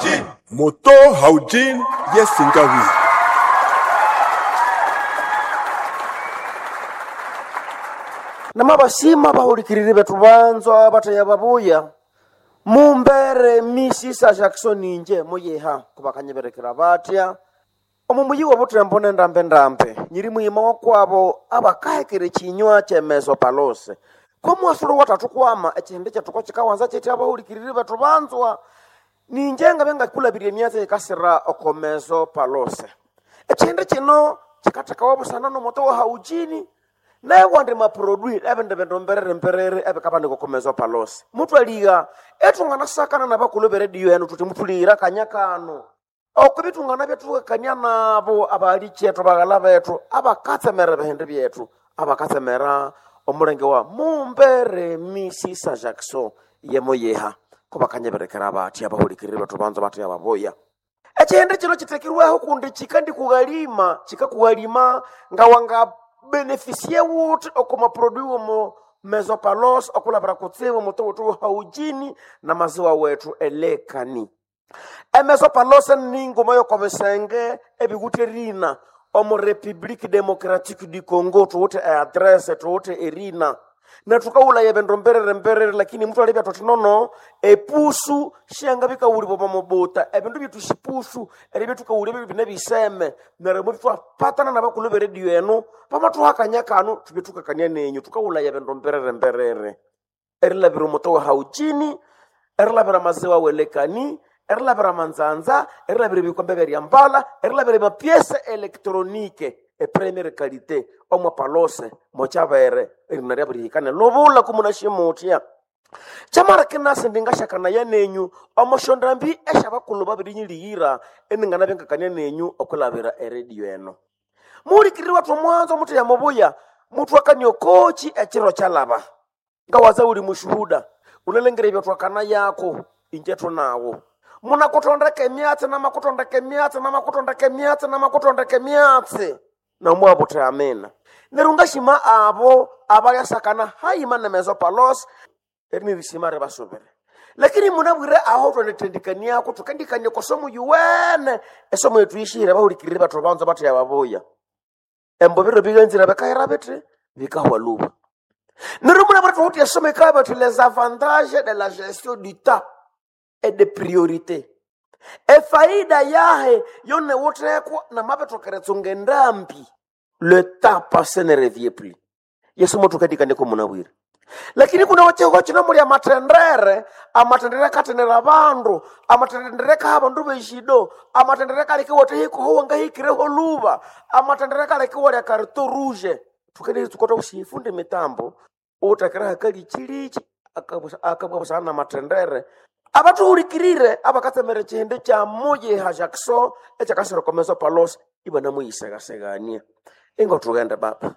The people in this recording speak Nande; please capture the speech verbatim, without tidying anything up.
Haujin. Moto Haujin yesingawi. Namabasima bahulikiriri bethu banzwa bathaya babuya mumbere misisa Jackson inje muyiha kubakanyiberekera batya omu muyi wa butembo nendambe-ndambe nyiri muyima wakwabo abakahekera ekinywa kyemezo palose komwasulo wathathu kwama ekihindi kyethu kokikawanza kyethi abahulikiriri bethu banzwa ninje ngabe ngakulabirya emyatsi eyikasira okomezo palose ekihindi kino kikathekawa busana nomoto wa haujini naye maprodui ebindu bindu mberere mberere ebikabanika okomezo palose mutwaliga ethunganasakana nabakulhu beredio enu thuthi muthulighira akanya kano oko bithungana byethukakania nabo abahali ethu baghala bethu abakatsemera ebihindi byethu abakatsemera omulenge wa mumbere misisa Jackson yemoyeha kubakanyeberekera bathi abahulikiriri bethu banza bathi ababoya ekihindi kino kitekirweho kundi kikandikughalima kikakughalima nga wanga benefisie wuthi oko maprodui womo mesopalos okulabira kutsibu mutu wuthi haujini na maziwa wethu elekani emesopalos ninguma yokobisenge ebikuthi erina omu Republique Democratique du Congo thuwithe eadresse thuwithe erina netukaghulaya ebindu mberere mberere lakini muthu alibya thuthi nono epusu syangabikawulibwa omo mubuta ebindu byethu sipusu eribya thukawulya ebyo bine biseme neryo mubithwapatana nabakulhu beredio enu bamathuhakanya kanu thubye thukakania nenyu thukawulaya ebindu mberere mberere erilabira omuto wa haujini erilabira amaziwa welekani erilabira amanzanza erilabira ebikombe byeryambala erilabira emapiese elektronike epremiere qualité omwa palose mochavere erina ryabirihikane lubula kumunashimutya chamara kinasi ndingashakanaya nenyu omoshondambi eshabakulhu babirinyilihira eningana ngakania nenyu okulabira eredio eno muhulikiriri wathu omwanzo muthi yamubuya muthu akania okochi ekiro kyalaba ngawaza uli mushuhuda unalengera ebyatwakana yako inje thunawo munakutondeka emyatsi namakutondeka emyatsi namakutondeka emyatsi namakutondeka emyatsi nomwabuthe amina neryo ngashima abo abalyasakana hayima nemezo palos erinirishima ribasubire lakini munabwire aho twandithendikaniako thukandikania kosomo yuwene esomo yethu yishire bahulikirire bathu banza bathi yababuya embo biro biganzira bikahera bithi bikahwa luba neryo munabwire thukuthi esomo ikabya bathi les avantages de la gestion du temps et de priorité efaida yahe yonewuthekwa namabithokeretsunga endambi le temps passé ne revient plus yesu mothukadikandiko munabwire lakini kuna wachiko chino muli amatendere amatendere akatenera abandu amatendere kaha abandu beshido amatendere kalekiwa hikoho wangahikireho luba amatendere kalekiwa lya carton rouge tukendere tukota ushifunde mitambo utakira hakalichilichi akabwabusana na matendere abathuhulikirire abakatsemera ekihindi kya muyiha Jackson ekyakasirokomeso palos ibanamuyisegasegania ingo thughende baba.